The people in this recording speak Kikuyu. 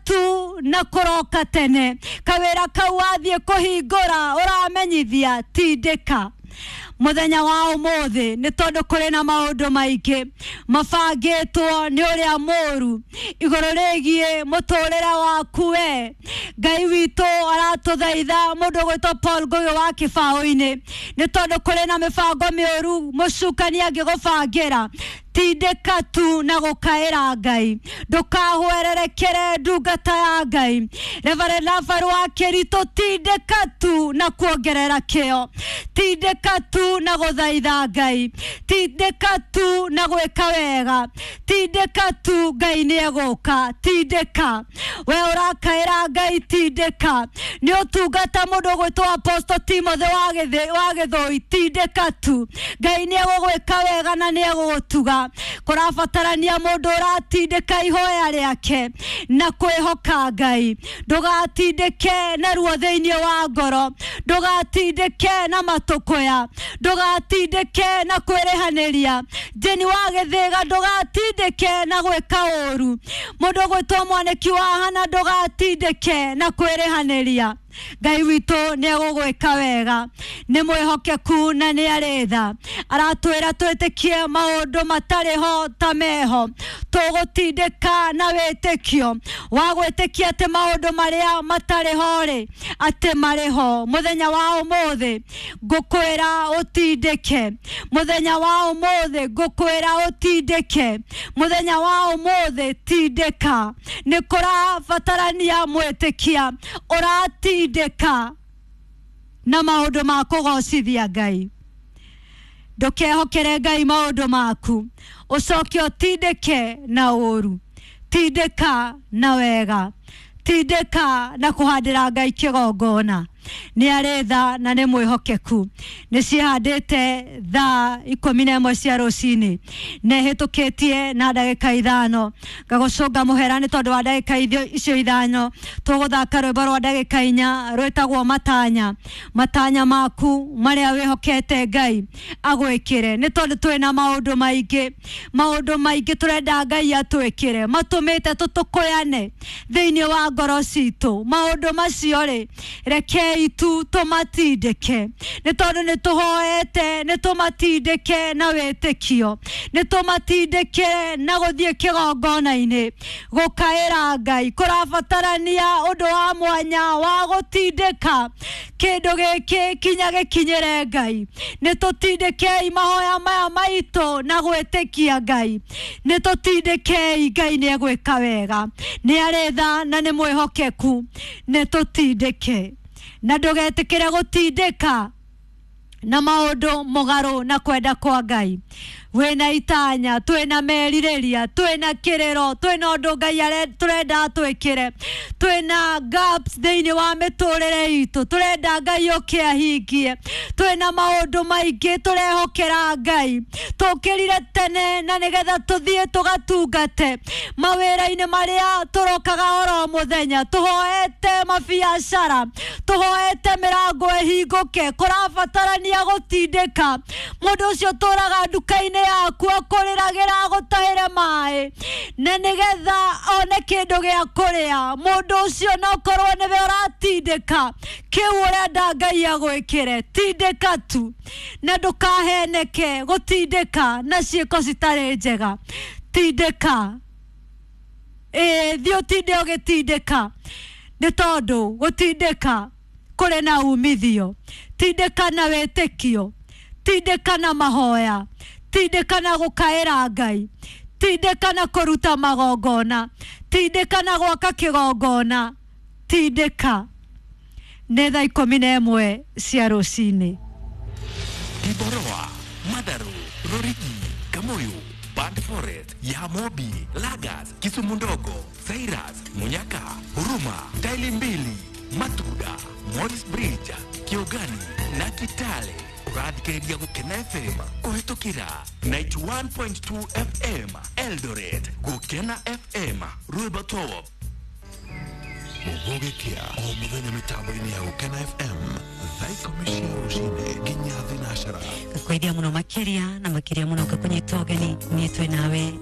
Tu na kũroka tene kawĩra kau wathiĩ kũhingũra ũramenyithia tindĩka mũthenya wa ũmũthĩ nĩ tondũ kũrĩ na maũndũ maingĩ mabangĩtwo nĩ ũrĩa mũũru igũrũ rĩgiĩ mũtũrĩre waku we. Ngai witũ aratũthaitha mũndũ ũgwĩtwo Paul Ngũgĩ wa kĩbaũ-inĩ nĩ tondũ kũrĩ na mĩbango mĩũru mũcukani angĩgũbangĩra. Tindĩka tu na gũkaĩra Ngai, ndũkahwererekere ndungata ya Ngai. Reverend Labaru wa Kĩritũ, tindĩka tu na kuongerera kĩo, tindĩka tu na gũthaitha Ngai, tindĩka tu na gwĩka wega, tindĩka tu Ngai nĩ egũka. Tindĩka we ũrakaĩra Ngai, tindĩka nĩ ũtungata mũndũ ũgwĩtwo Apostle Timothy wa Gĩthũi, tindĩka tu Ngai nĩ egũgwĩka wega na nĩ egũgũtuga. Kũrabatarania mũndũ ũratindĩka ihoya rĩake na kwĩhoka Ngai. Ndũgatindĩke na ruo thĩinĩ wa ngoro, ndũgatindĩke na matũkũya, ndũgatindĩke na kwĩrĩhanĩria. Jeni wa Gĩthĩga, ndũgatindĩke na gwĩka ũru. Mũndũ ũgwĩtwo Mwanĩki wa Hana, ndũgatindĩke na kwĩrĩhanĩria. Ngai witũ nĩ egũgwĩka wega, nĩ mwĩhokeku na nĩ arĩ tha. Aratwĩra twĩtĩkie maũndũ matarĩ ho ta meho. Tũgũtindĩka na wĩtĩkio wa gwĩtĩkia atĩ maũndũ marĩa matarĩ ho rĩ, atĩ marĩ ho. Mũthenya wa ũmũthĩ ngũkwĩra ũtindĩke, mũthenya wa ũmũthĩ ngũkwĩra ũtindĩke, mũthenya wa ũmũthĩ tindĩka. Nĩ kũrabatarania mwĩtĩkia ũratindĩka na maũndũ ma kũgocithia Ngai. Ndũkehokere Ngai maũndũ maku, ũcoke ũtindĩke na ũru. Tindĩka na wega, tindĩka na kũhandĩra Ngai kĩgongona. Nĩ arĩ tha na nĩ mwĩhokeku. Nĩ ciĩhandĩte thaa 11 cia rũcinĩ na ĩhĩtũkĩtie na ndagĩka 5. Ngagũcũnga mũhera nĩ tondũ wa ndagĩka icio 5. Tũgũthaka rwĩmbo rwa ndagĩka 4 rwĩtagwo Matanya. Matanya maku marĩa wĩhokete Ngai agwĩkĩre, nĩ tondũ twĩna maũndũ maingĩ, maũndũ maingĩ tũrenda Ngai atwĩkĩre matũmĩte tũtũkũyane thĩinĩ wa ngoro citũ. Maũndũ macio rĩ, rekei tu tũmatindĩke, nĩ tondũ nĩ tũhoete, nĩ tũmatindĩke na wĩtĩkio, nĩ tũmatindĩke na gũthiĩ kĩgongona-inĩ gũkaĩra Ngai. Kũrabatarania ũndũ wa mwanya wa gũtindĩka kĩndũ gĩkĩ kinya gĩkinyĩre Ngai. Nĩ tũtindĩkei mahoya maya maitũ na gwĩtĩkia Ngai. Nĩ tũtindĩkei Ngai nĩ egwĩka wega, nĩ arĩ tha na nĩ mwĩhokeku. Nĩ tũtindĩke na ndũgetĩkĩre gũtindĩka na maũndũ mũgarũ na kwenda kwa Ngai. Wĩna itanya, twĩna merirĩria, twĩna kĩrĩro, twĩna ũndũ Ngai tũrenda atwĩkĩre, twĩna gaps thĩinĩ wa mĩtũrĩre itũ tũrenda Ngai oke ahingie, twĩna maũndũ maingĩ tũrehokera Ngai. Tũkĩrire tene na nĩgetha tũthiĩ tũgatungate mawĩra-inĩ marĩa tũrokaga oro mũthenya, tũhoete mabiacara, tũhoete mĩrango ĩhingũke. Kũrabatarania gũtindĩka mũndũ ũcio ũtũraga nduka-inĩ yaku akũrĩragĩra agũtahĩre maĩ na nĩgetha one kĩndũ gĩa kũrĩa. Mũndũ ũcio no korwo nĩwe ũratindĩka kĩu ũrenda Ngai agwĩkĩre. Tindĩka tu na ndũkaheneke gũtindĩka na ciĩko citarĩ njega. Tindĩka, ĩĩ, thiĩ ũtinde ũgĩtindĩka, nĩ tondũ gũtindĩka kũrĩ na umithio. Tindĩka na wĩtĩkio, tindĩka na mahoya, tindĩka na gũkaĩra Ngai, tindĩka na kũruta magongona, tindĩka na gwaka kĩgongona, tindĩka. Nĩ thaa 11 cia rũcinĩ. Kiboroa, Madaru, Rorigi, Kamuyu, Band Forest, Yamobi, Lagas, Kisumu Ndogo, Cyrus, Munyaka, Huruma, Taili Mbili, Matuda, Morris Bridge, Kiogani na Kitale. Ũrathikĩrĩria Gũkena FM kũhĩtũkĩra 91.2 FM Eldoret, Gũkena FM Rwĩmbo Top. Mũgũgĩkia o mũthenya mĩtambo-inĩ ya Gũkena FM thaa 10 cia rũcinĩ nginya 12. Ngakwendia mũno makĩria na makĩria mũno ngakũnyita ũgeni niĩ twĩ nawe.